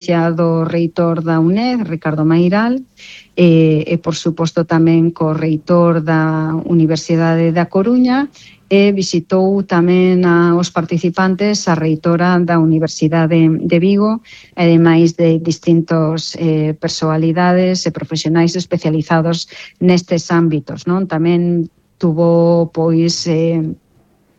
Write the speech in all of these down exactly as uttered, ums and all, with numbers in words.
do reitor da U N E D, Ricardo Mairal, e, e por suposto tamén co reitor da Universidade da Coruña, e visitou tamén a, os participantes a reitora da Universidade de Vigo, ademais de distintos eh, personalidades e profesionais especializados nestes ámbitos, non? Tamén tuvo pois eh,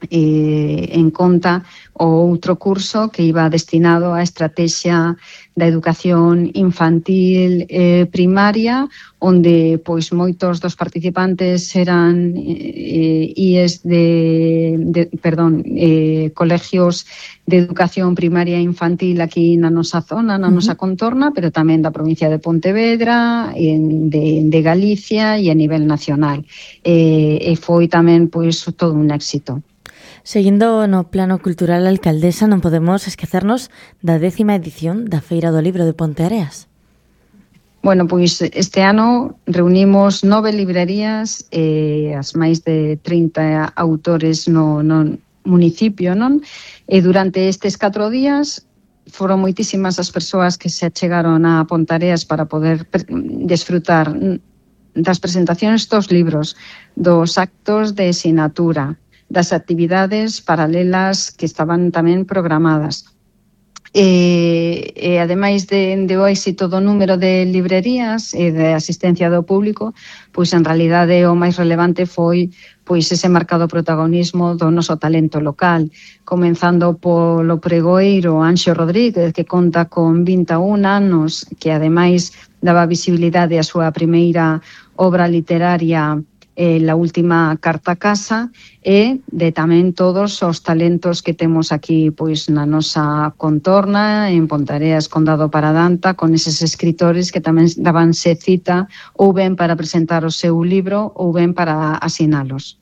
eh, en conta o outro curso que iba destinado á estrategia da educación infantil eh, primaria, onde pois moitos dos participantes eran eh, I E S de, de perdón, eh, colegios de educación primaria e infantil aquí na nosa zona, na nosa contorna, pero tamén da provincia de Pontevedra, en, de, de Galicia e a nivel nacional. Eh, e foi tamén pois todo un éxito. Seguindo no plano cultural, alcaldesa, non podemos esquecernos da décima edición da Feira do Libro de Ponteareas. Bueno, pois este ano reunimos nove librerías e as máis de trinta autores no, no municipio, non? E durante estes catro días foron moitísimas as persoas que se achegaron a Ponteareas para poder desfrutar das presentacións dos libros, dos actos de sinatura, das actividades paralelas que estaban tamén programadas. E, e ademais de, de o éxito do número de librerías e de asistencia do público, pois en realidade o máis relevante foi pois ese marcado protagonismo do noso talento local, comenzando polo pregoeiro Anxo Rodríguez, que conta con vinte e un anos, que ademais daba visibilidade á súa primeira obra literaria, eh, La última carta a casa, e de tamén todos os talentos que temos aquí pois na nosa contorna, en Ponteareas, Condado Paradanta, con eses escritores que tamén dabanse cita ou ben para presentar o seu libro ou ben para asinalos.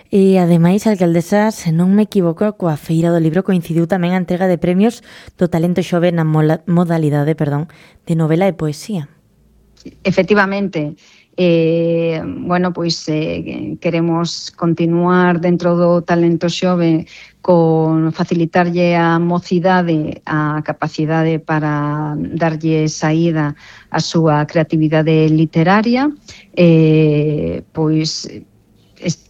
E, ademais, alcaldesa, se non me equivoco, coa Feira do Libro coincidiu tamén a entrega de premios do talento xove na modalidade, perdón, de novela e poesía. Efectivamente, eh, bueno, pois eh, queremos continuar dentro do talento xove con facilitarlle a mocidade a capacidade para darlle saída á súa creatividade literaria. Eh, pois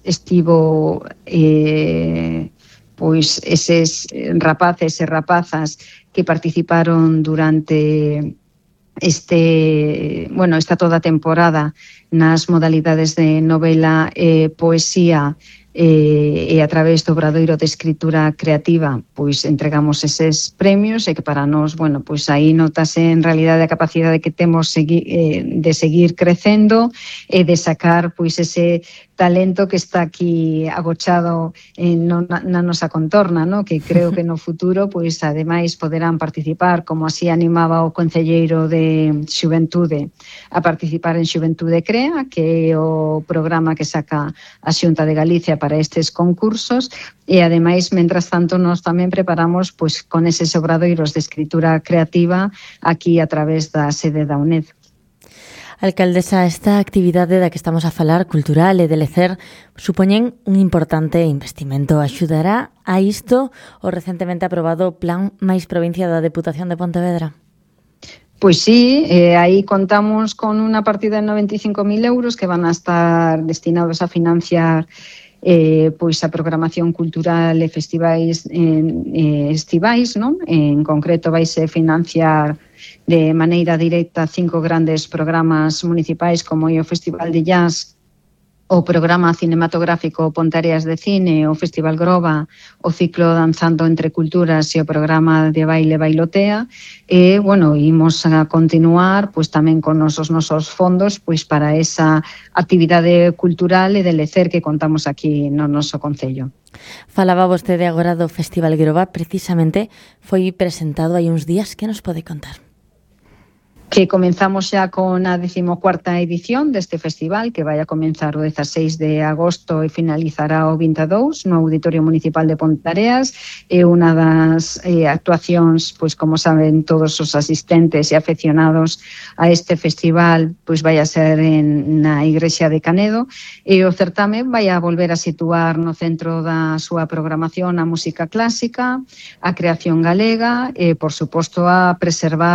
estivo eh, pois eses rapaces e rapazas que participaron durante este, bueno, esta toda temporada nas modalidades de novela e poesía e, e a través do Obradoiro de Escritura Creativa pois entregamos eses premios e que para nós, bueno, pois aí notase en realidade a capacidade que temos segui, eh, de seguir crecendo e de sacar pois ese talento que está aquí agochado en, no, na, na nosa contorna, ¿no? Que creo que no futuro, pois ademais poderán participar, como así animaba o concelleiro de Xuventude, a participar en Xuventude Crea, que é o programa que saca a Xunta de Galicia para estes concursos, e ademais, mentras tanto, nós tamén preparamos pois con eses obradoiros de escritura creativa aquí a través da sede da U N E D. Alcaldesa, esta actividade da que estamos a falar, cultural e de lecer, supoñen un importante investimento. Axudará a isto o recentemente aprobado Plan Máis Provincia da Deputación de Pontevedra? Pois sí, eh, aí contamos con unha partida de noventa e cinco mil euros que van a estar destinados a financiar eh, pois a programación cultural e festivais eh, estivais, non? En concreto vaise financiar de maneira directa cinco grandes programas municipais como é o Festival de Jazz, o programa cinematográfico Ponteareas de Cine, o Festival Groba, o ciclo Danzando entre Culturas e o programa de baile Bailotea. E, bueno, imos a continuar pois tamén con os nosos fondos pois para esa actividade cultural e de lecer que contamos aquí no noso concello. Falaba vostede agora do Festival Groba, precisamente foi presentado hai uns días. Que nos pode contar? que comenzamos xa con a decimocuarta edición deste festival, que vai a comenzar o dezaseis de agosto e finalizará o vinte e dous no Auditorio Municipal de Ponteareas. É unha das eh, actuacións, pois como saben todos os asistentes e afeccionados a este festival, pois vai a ser en, na Igrexa de Canedo, e o certame vai a volver a situar no centro da súa programación a música clásica, a creación galega e, por suposto, a preservar